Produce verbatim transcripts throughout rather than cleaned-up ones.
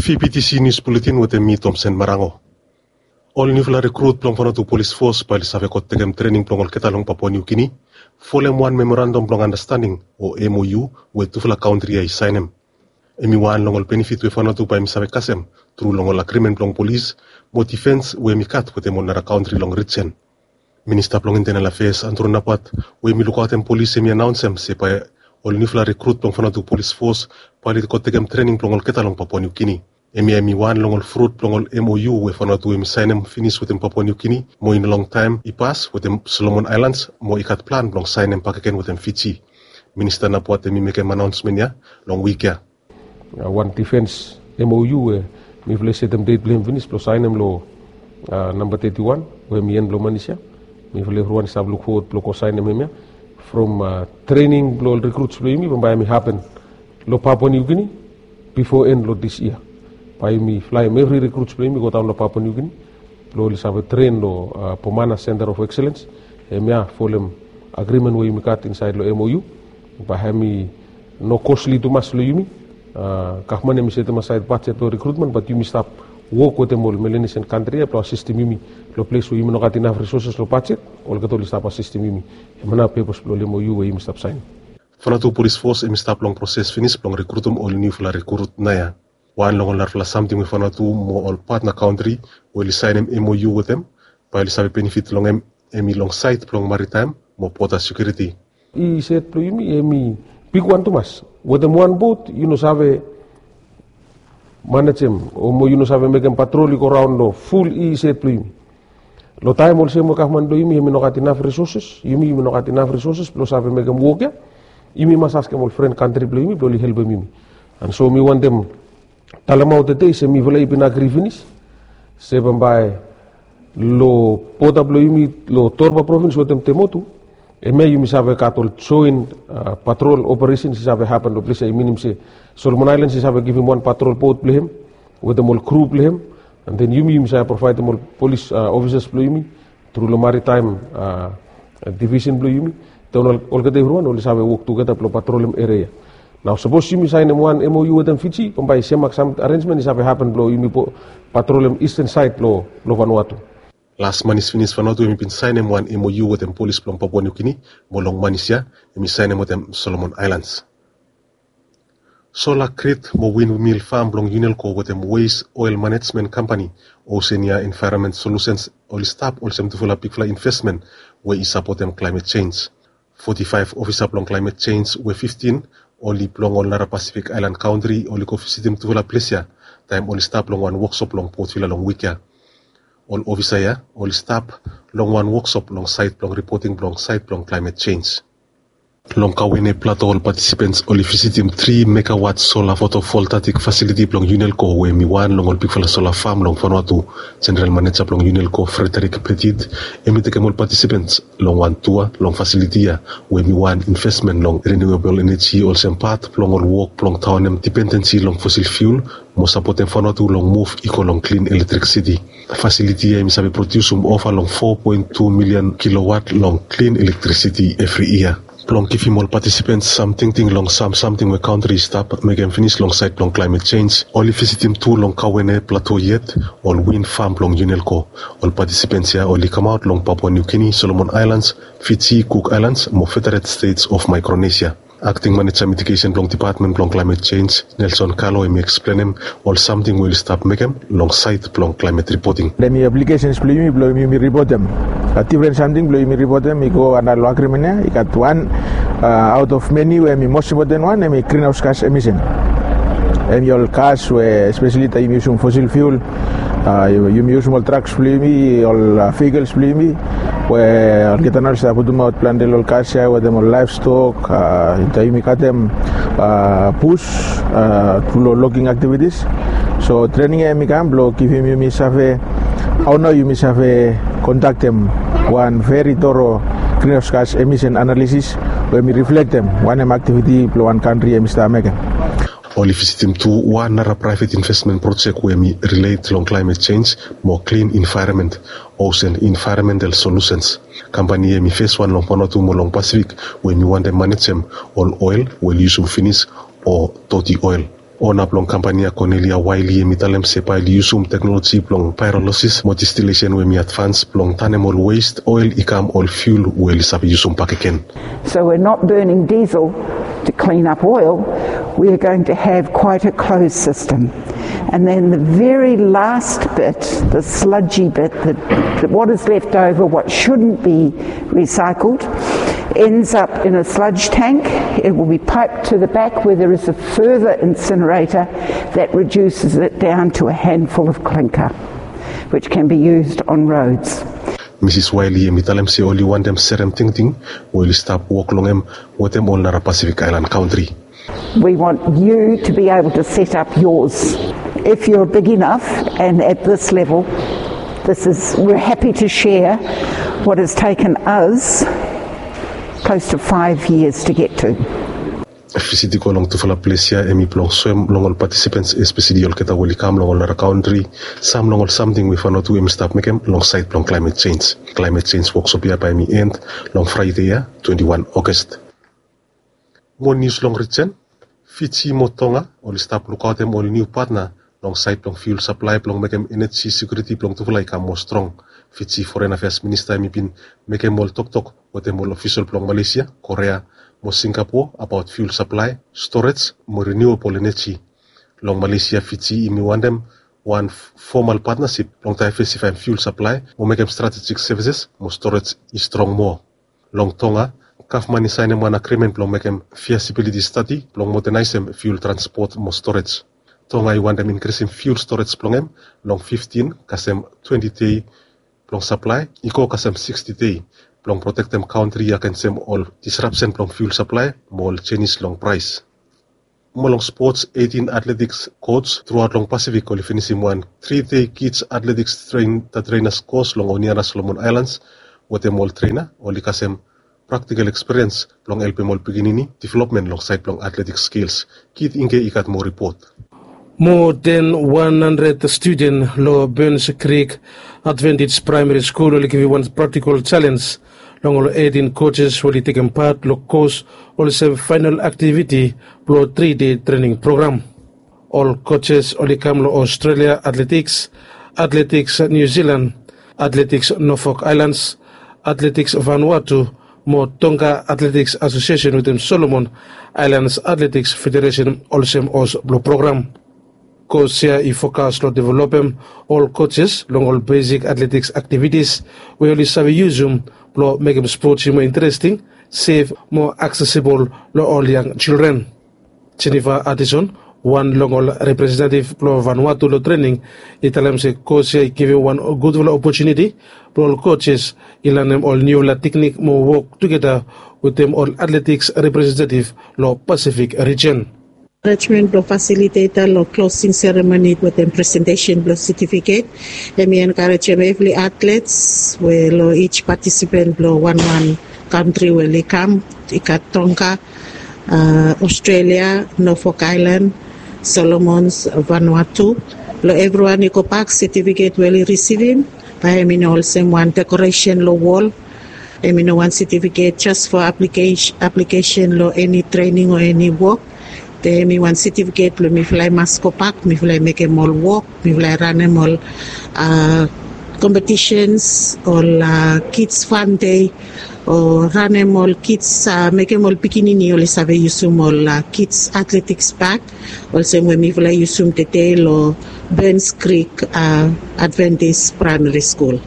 Fibitisi nius buletin wetem mi, Tomsen Marango. Ol niufala rekrut blong Vanuatu Polis Fos bae oli save go tekem trening blong olgeta long Papua Niu Gini, folem wan memorandam blong andastanding o M O U we tufala kantri ya i saenem. Hemi wan long ol benefit we Vanuatu bae hemi save kasem tru long ol agrimen blong polis mo difens we hemi gat wetem ol nara kantri long rijen. Minista blong Intenal Afeas, Andrew Napat, we hemi lukaotem polis, hemi anaonsem se bae ol niufala rekrut blong Vanuatu Polis Fos bae oli go tekem trening blong olgeta long Papua Niu Gini. Hemia hemi wan long ol frut blong ol M O U we Vanuatu hemi saenem finis wetem Papua Niu Gini mo i no longtaem i pas wetem Solomon Aelans mo i gat plan blong saenem bakegen wetem Fiji. Minista Napat hemi mekem anaonsmen ya long wik ya. Wan difens M O U we mifala i setem det blong hem finis blong saenem long namba teti wan we hemi en blong manis ya. Mifala evriwan i stap lukfowod blong go saenem hemia from trening blong ol rekruts blong yumi bambae hemi hapen long Papua Niu Gini bifo en long dis yia. Bae yumi flaem evri rekruts blong yumi godaon long Papua Niu Gini blong oli save tren long Pomana Center of Excellence. Hemia folem agrimen we yumi gat insaed long M O U. Bae hemi no kosli tumas long yumi. Gavman hemi setem asaed bajet blong rekrutmen, bat yumi stap wok wetem ol Melanesian kantri ya blong asistem yumi long ples we yumi no gat inaf risoses long bajet. Olgeta oli stap asistem yumi. Hemia nao pepos blong ol M O U we yumi stap saenem. Vanuatu Polis Fos hemi stap long proses finis blong rekrutem ol niufala rekrut naoia. Wan long ol narafala samting we Vanuatu mo ol patna kantri we oli saenem M O U wetem bae oli save benefit long hem, hemi long saed blong maritaem mo boda sekiuriti. I sed blong yumi hemi bigwan tumas. Wetem wan bot yu no save manejem o mo yu no save mekem patrol i go raon long ful i sed blong yumi. Long taem olsem we gavman blong yumi hemi no gat inaf risoses, yumi yumi no gat inaf risoses blong save mekem wok ya, yumi mas askem ol fren kantri blong yumi blong oli helpem yumi. And so mi wantem talemaot tede se mifala i bin agri finis se bambae long boda blong yumi long Torba provins wetem Temotu, hemia yumi save gat ol joen patrol operesens i save hapen long ples ya. I minim se Solomon Aelans i save givim wan patrol bot blong hem wetem ol kru blong hem. And then yumi yumi save provaedem ol polis ofisas blong yumi tru long maritaem divisen blong yumi. Then olgeta evriwan oli save wok tugeta blong patrolem eria. Nao sapos yumi saenem wan M O U wetem Fiji, bambae semak sam arensmen i save hapen blong yumi patrolem isten saed blong Vanuatu. Las manis finis Vanuatu hemi bin saenem wan M O U wetem polis blong Papua Niu Gini mo long manis ya hemi saenem wetem Solomon Aelans. Sola grid mo windmill fam blong Unelco wetem Waste Oil Management Company, Oceania Environment Solutions, oli stap olsem tufala bigfala investmen we i sapotem climate change. Foti faef ofisa blong climate change we fiftin oli blong ol nara Pasifik aelan kantri oli go visitim tufala ples ya taem oli stap long wan woksop long Port Vila long wik ya. Ol ofisa ya oli stap long wan woksop long saed blong ripoting blong saed blong climate change. Long Kauene Plato ol patisipens oli visitim tri megawat sola fotovoltaik fasiliti blong Unelco we hemi wan long ol bigfala sola fam long Vanuatu. Jeneral maneja blong Unelco, Frederick Petit, hemi tekem ol patisipens long wan tua long fasiliti ya we hemi wan investmen long renewable energy olsem pat blong ol wok blong taonem dipendensi long fosil fiul mo sapotem Vanuatu long muv i go long klin elektrisiti. Fasiliti ya hemi save prodiusum ova long fo poen tu milian kilowat long klin elektrisiti evri yia. Blong givim ol patisipens sam tingting long sam samting we kantri i stap mekem finis long saed blong climate change, oli visitim tu long Kauene Plato yet ol win fam blong Unelco. Ol patisipens ya oli kamaot long Papua Niu Gini, Solomon Aelans, Fiji, Cook Aelans mo Federated States of Micronesia. Akting maneja mitigesen blong dipatmen blong climate change, Nelson Kalo, hemi eksplenem ol samting we oli stap mekem long saed blong climate ripoting. Hemi aplikesens blong yumi blong yumi ripotem difren samting blong yumi ripotem i go anda long agrimen ya. I gat wan aot of meni we hemi mos impoten wan hemi grinhaos gas emisen. Hemi ol gas we espeseli taem yumi yusum fosil fiul, yumi yusum ol traks blong yumi, ol vehikels blong yumi, we olgeta nao oli save putumaot plante long ol gas ya wetem ol laevstok, taem yumi katem bus tru long logging aktivitis. So trening ya hemi kam blong givim yumi save hao nao yumi save kondaktem wan veri toro grinhaos gas emisen analisis we hemi riflektem wanem aktiviti blong wan kantri hemi stap mekem. Oli visitim tu wan nara praevet investmen projek we hemi rilet long climate change mo klin envaeronmen, Ocean Environmental Solutions. Kampani ya hemi feswan long Vanuatu mo long Pasifik we hemi wantem manejem ol oel we oli yusum finis o doti oel. Ona blong kampani ya, Cornelia Wiley, hem i talem se bae oli yusum teknoloji blong paerolosis mo distilesen we hem i advans blong tanem ol west oel i kam ol fiul we oli save yusum bakegen. So we're not burning diesel to clean up oil, we are going to have quite a closed system. And then the very last bit, the sludgy bit, the, the, what is left over, what shouldn't be recycled, ends up in a sludge tank. It will be piped to the back where there is a further incinerator that reduces it down to a handful of clinker, which can be used on roads. Misis Wiley hem i talem se oli wantem serem tingting we oli stap wok long hem wetem ol nara Pacific Island kantri. We want you to be able to set up yours if you're big enough, and at this level, this is, we're happy to share what has taken us close to five years to get to. Visit i go long tufala ples ya hem i blong soem long ol patisipens, espeseli olgeta we oli kam long ol nara kantri, sam long ol samting we Vanuatu hem i stap mekem long saed blong klaemet jenj. Klaemet jenj woksop ya bae hem i end long Fraede ya, twenti wan August. Mo nius long rijen. Fiji mo Tonga oli stap lukaotem ol niu patna long saed blong fiul saplae blong mekem eneji sekiuriti blong tufala i kam moa strong. Fiji Foren Afeas Minista hem i bin mekem ol toktok wetem ol ofisol blong Malaysia, Korea mo Singapore abaot fiul saplae, storej mo riniuabol eneji. Long Malaysia, Fiji hem i wantem wan fomal patnasip blong daevesifaem fiul saplae mo mekem stratejik sevises mo storej i strong moa. Long Tonga, gavman i saenem wan agrimen blong mekem fiasibiliti stadi blong modanaesem fiul transpot mo storej. Tonga i wantem inkrisim fiul storej blong hem long fiftin kasem twenti dei blong saplae i go kasem siksti dei blong protektem kantri agensem ol disrapsen blong fiul saplae mo ol jenis long praes. Mo long spots, eitin atletiks kots truaot long Pasifik oli finisim wan tri dei kids atletiks trein, da trenas kos long Honiara Solomon Aelans wetem ol trena oli kasem praktikal ekspiriens blong helpem ol pikinini developmen long saed blong atletiks skils. Kit Ingke i gat moa ripot. Moa den wan handred studen long Burns Creek Advantage Praemari Skul oli givim wan praktikal jalenj long ol eitin kojes we oli tekem pat long kos olsem faenol aktiviti blong tri dei trening program. Ol kojes oli kam long Australia Athletics, Athletics New Zealand, Athletics Norfolk Islands, Athletics Vanuatu mo Tonga Athletics Association wetem Solomon Islands Athletics Federation olsem hos blong program. Kos ya i fokas long developem ol kojes long ol besik atletiks aktivitis we oli save yusum blong mekem spots i moa interesting, sef mo aksesibol long ol yang jildren. Jennifer Addison, wan long ol representetiv blong Vanuatu long trening, i talem se kos ya i givim wan gudfala opotuniti blong ol kojes i lanem ol niufala teknik mo wok tugeta wetem ol atletiks representetiv long Pasifik rijen. Enkarejmen blong fasiliteta long klosing seremoni wetem presentesen blong setifiket. Hemi enkarejem evri atlets we long ij patisipen blong wanwan kantri we oli kam, i gat Tonga, Australia, Norfolk Island, Solomons, Vanuatu. Long evriwan i gobak, setifiket we oli risivim bae hemi no olsem wan dekoresen long wol. Hemi no wan setifiket jes fo aplikesen long eni trening o eni wok. Be hemi wan setifiket blong mifala i mas gobak, mifala i mekem ol wok, mifala i ranem ol kompetisens, ol kids fan dei, o ranem ol kids, mekem ol pikinini oli save yusum ol kids atletiks bak olsem we mifala i yusum tede long Burns Creek Adventist Primary School.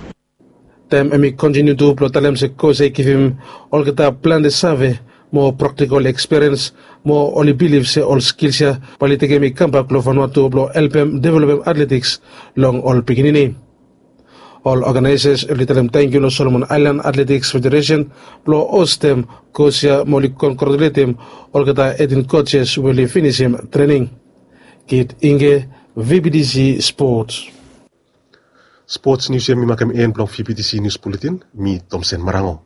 Taem hemi kontiniu tu blong talem se kos ya i givim olgeta plante save mo praktikol ekspiriens mo oli bilif se ol skils ya bae oli tekem i kambak long Vanuatu blong helpem developem atletiks long ol pikinini. Ol oganaesas oli talem tangkiu long Solomon Aelan Atletiks Federesen blong hostem kos ya mo oli kongratuletem olgeta eitin kojes we oli finisim trening. Kit Ingke, V B T C Sports. Spots nius ya hemi makem en blong V B T C Nius Buletin. Mi Tomsen Marango.